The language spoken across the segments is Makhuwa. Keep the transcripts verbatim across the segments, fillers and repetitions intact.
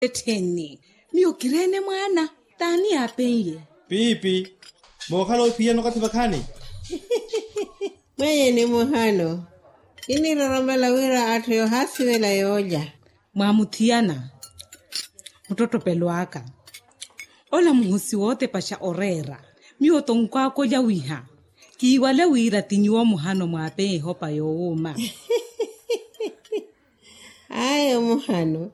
Ettheni, miyo kireene mwaana. T'ani yaapen'ye? Piipi. Mookhala ophiyana okathi vakhaani. Mwenyeni muhano. Kiniroromela wira atthu yoohaasivela yoolya. Mwaamuthiyana. Muttottopelo aka. Ola muhosi wootepaxa oreera. Miyo tonkwaakolya wiha. Kiiwale wira ti nyuwo muhano mwaapeya ehopa yoowuuma. Ayo muhano.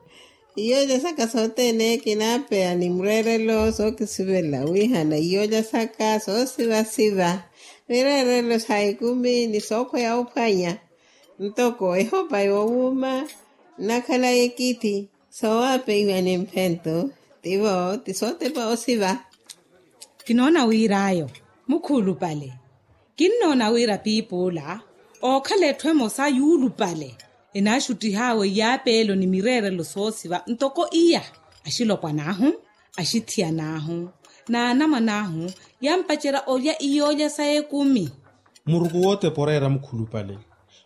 Iyoolya saka sothene kinaapeya ni mureerelo sookisivela wihana iyoolya saka soosivasiva. Mireerelo sa ekumi ni sookhweya ophwanya. Ntoko ehopa yoowuuma nnakhala ekithi. Soowapeiwa ni mphento. Tivo ti sootepa osiva. Kinoona wir'ayo mukhuulupale. Kinnoona wira piipuula ookhala etthu emosa yuulupale. Enaaxuttih'awe iyaapeelo ni mireerelo soosiva ntoko iya. Axilopwan'ahu, axithiyan'ahu, n'anamwan'ahu yampacerya olya iyoolya sa ekumi. Muruku wootepa oreera mukhulupale.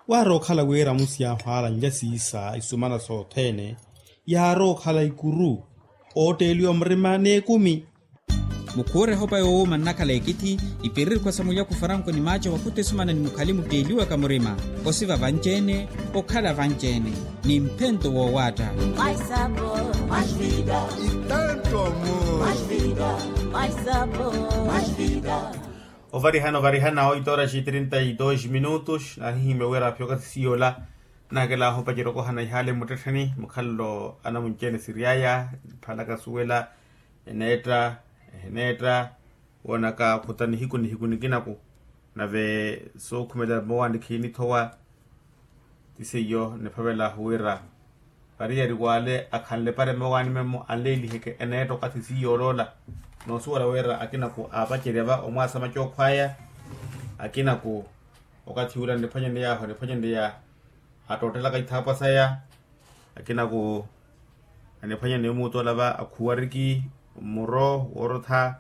Waarookhala wira amusi yaahu aalanlya siisa isumana sothene. Yaarookhala ikuru ootteeliwa murima n'ekumi. Mukhuure ehopa yoowuuma nnakhala ekithi. Ipiririkhwa sa mulyakhu faranko ni maaco wakhuta esumana ni mukhali mutteeliwaka murima. Osiva vanci-ene, okhala vanci-ene ni mphento woowaatta. Ovarihana ovarihana oito horas e trinta e dois minutos nahihimya wira phi okathi siyola. Nakelahu opacerya okohana ihaale mmuttettheni mukhalelo anamunci-ene siry'aya. Phalaka suwela eneetta eheneetta. Woonaka khuta nihiku nihiku nikinaku nave sookhumela mmowaani khiinithowa. Ti seiyo niphavel'ahu wira variyari w'ale akhanle pare mmowaani memmo anleeliheke eneetta okathi siiyooloola. Noosuwela wira akinaku aapacerya va omwaasa macookhw'aya. Akinaku okathi ula niphwanyaney'ahu niphwanyaneya attoottelaka ithaapwa saya. Akinaku aniphwanyaneya omuutola va akhuwariki mmuro woorotha.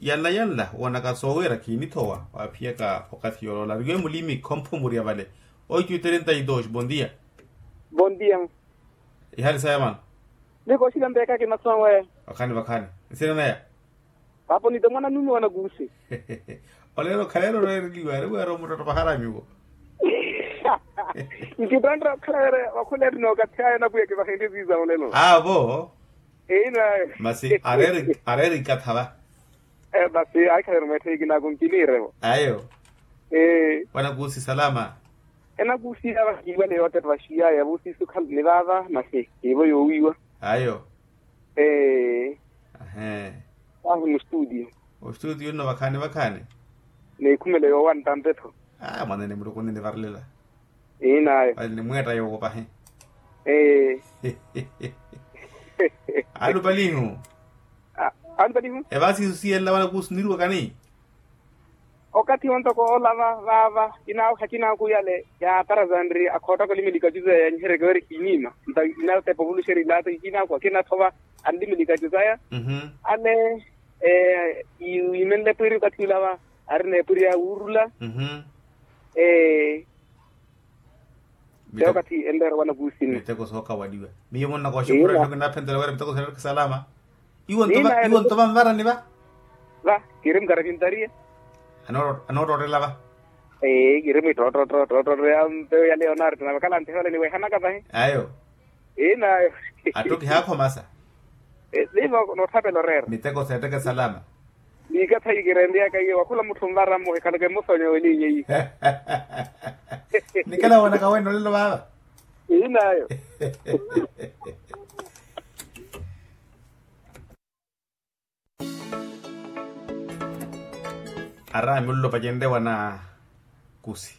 Yanla yanla woonaka soowiira khiinithowa waaphiyaka okathi yooloola ariwe mulimi khompho murya vale. Oito e trinta e dois bondia. Bondia. Ihali saya mano. Nikoxila mpeekaki masowe. Vakhani vakhani. Nsina naya. Papo nite mwana nume wanakusi. Olelo khalelo reereliwa ari weera omuttottopahara nyuwo. Nkittonre okhala were wakhula eri nookathi aya napwiya kivahenrye viza olelo avo. Eyi nayo. Masi areeri areeri ikatha va. Masi aikhalero mweettheyiki naku nkiniirevo. Ayo. Wanakusi salama. Enakusi ava kiiwale yootepa vaxiyaya vusisu khalani vaava masi kiivo yoowiiwa. Ayo. Ee. Ahi mustudio. Ostudio nno vakhaani vakhaani. Nikhumele yoowa ntampe-tho. Mwanene muluku oninivarelela. Iinayo. Vale nimweetta yoowo pahi. Ee. Alupalihu. Alupalihu. Evaasi isu siyelela wala kuusuniriwakani. Okathi wontoko olava vaava kinaakhu akinaakhu yale yaatarazanri akhoottaka olimilikacu zaya yanyiheryeke weri kiinima nta inatepa ovuluxeri ilaata ikinaakhu akinathova anlimilikacu zaya. Ale imenle epwiri okathi ulava arina epwiri ya wuurula. Te okathi enreera wanakuusini miteko sookawaliwa. Miyo munnakooxa okhurerya okinaphentela wira miteko seerereke salama. Iwo nto vanvarani va. Va kiri mukarakintaria. Anoottottela va. Ee kiri mwittoottoottoottootto ya mpeyo ya leonardo nave kalanthi hole niwehanaka vahi. Ayo. Inayo. Atto kihaakhomasa. Nivo nootthapela oreera miteko seetteke salama. Ni ikathayi kirenryaka iye wakhula mutthu onvara mmoha ekhalaka emmosa onyawelinye iye. Nikela woonaka wene olelo vaava. Inayo. Araami olelo pacenrye wanakusi.